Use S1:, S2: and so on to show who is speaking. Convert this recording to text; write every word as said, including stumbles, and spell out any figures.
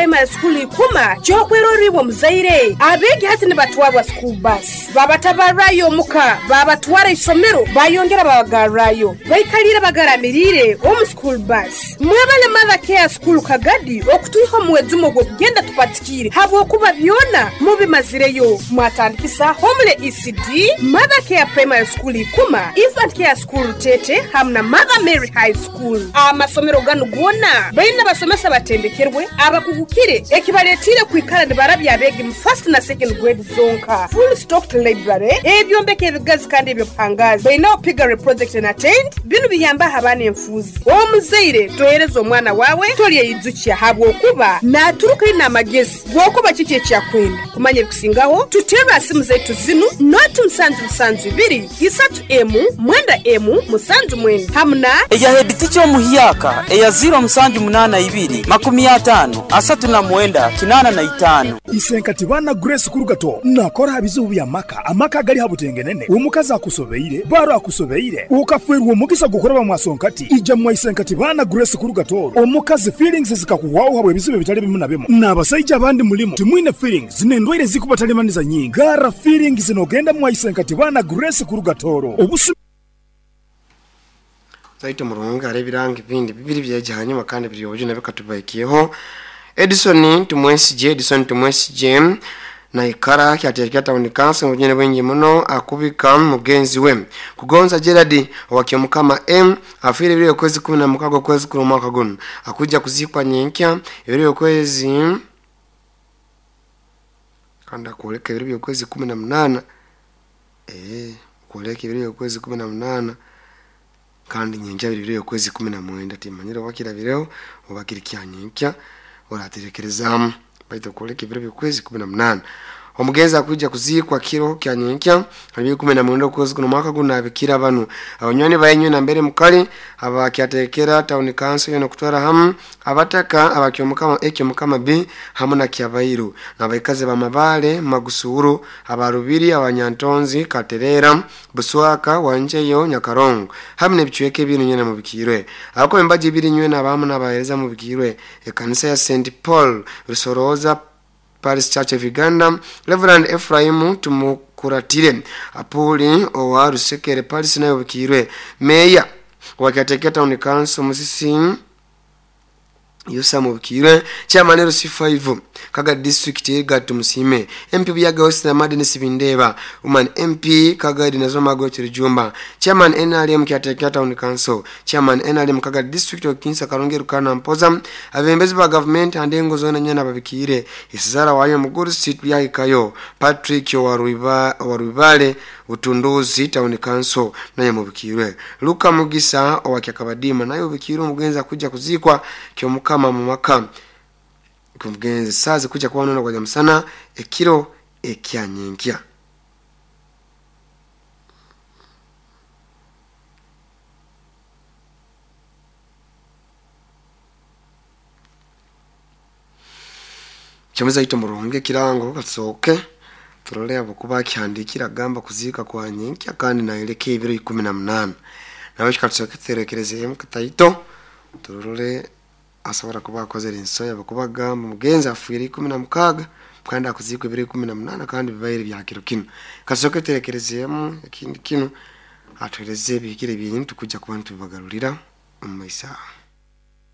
S1: Primary School Ikuma kyokweroribwa muzaire abegi hati nibatwarwa school bus babatabarayo muka babatwara isomero bayongera babagarrayo baikalira bagaramirire omu school bus. Mwebale Mother Care School Kagadi okutuiho muwezumo gwo kugenda tupatikire habwokuba byona mubimazireyo. Mwatandikisa Homele E C D, Mother Care Primary School Ikuma, Infant Care School Tete hamna Mother Mary High School. Amasomero ganu gona baina basomesa batendekerwe abakugukire ekibaletire kwikala nibarabya abegi mu first na second grade zonka. Full stocked library ebyombeke ebigazi kandi ebyopangazi baina piggery project na tent binu biyamba habana enfuzi. Omuzaire tohereza omwana wawe tolye yizukia habwokuba naturuka ina amagezi gwokuba kiki ekyakwenda kumanya ebikusingaho tutera simu zetu zinu noti musanju musanju ibiri isatu emu mwenda emu musanju mwenda hamna
S2: eya head omuhiyaka eya zero musanju munana ibiri makumi atano asatu na mwenda kinana na itano.
S3: Isenkati bana Grace Kurugato nakora bizibu bya maka amaka gali habutengenene omukazi akusobeire baro akusobeire ukafwerwa omugisa gukora mwasonkati ija mwa Isenkati bana Grace Kurugato omukazi feelings zikakuwawo habwe bizibu bitali bimu na bimu n'abasajja abandi mulimu timwine feelings zinendwaire zikubatalemaniza nyingi gara feelings zinogenda mwa Isenkati bana Grace Kurugatoro obusu
S4: zaito murunga arebirangi bindi bibiri byaje hanyuma kandi biri obujo nabikatubaikiyeho. Edison Tumwesije Edison Tumwesije na ikara kyatekya town council mujene bwengi muno akubika mugenzi we Kugonza Gerard wakyomukama M afire biri kwezi kumi na mukago kwezi kuri mwaka guno akuja kuzikwa nyenkya biri kwezi kanda kuleka biri kwezi kumi na munana eh kuleka biri kwezi kumi na munana kandi nyenkya biri kwezi kumi na mwenda timanyira wakira bireo obakirikia nyenkya oraterekerezamu baito kuleka biri kwezi kumi na munana omugenzi akuja kuzikwa kiro kya nyenkya ali kumi na mwenda kwezi kuno mwaka guno abikira banu abanywani bayenywe na mbere mukali abakyatekera town council yono kutwara hamu abataka abakyomukama ekyomukama B hamu na kyabairu nabaikaze bamabale magusuru abarubiri abanyantonzi katerera buswaka wanjeyo nyakarongo hamu nebichweke binu nyene mubikirwe abako embaji biri nywe nabamu nabahereza mubikirwe ekanisa ya Saint Paul Rusoroza Paris Church of Uganda Reverend Ephraim Tumukuratire Apuli owa Rusekere Paris nayo bikirwe Meya wakateketa town council Musisi Yusa mubikirwe Chairman L C five Kaga district Egatu Musime M P Buyaga West na Madden Sibindeba Woman M P Kaga Dinazoma Gochiri Jumba Chairman N R M Kyateketa Town Council Chairman N R M Kaga District of Kinsa Karungi Rukana Mpoza abembezi ba government andengo zona nyana babikire Isizara wayo Muguru Street Byahikayo Patrick Waruiba Warubale Utunduzi Town Council naye mubikirwe Luka Mugisa owakyakabadima naye ubikirwe omugenzi akuja kuzikwa kyomukama mu maka kumugenzi sazi kuja kuwa nona kwa jamsana ekiro ekyanyenkya. Chomeza ito murunge kirango katsoke turole abo kihandikira gamba kuzika kwa nyenkya kandi naelekea ibiro ikumi na munana nawe katsoke terekereze mukataito turole asobora kuba akozere ensoya bakuba gamba mugenzi afuire ikumi na mukaga kandi akuzikwa ibiro ikumi na munana kandi bibaire bya kiro kino katsoke terekerezemu ekindi kino atuhereze bikire bintu kujja kubantu bibagarurira mu maisa.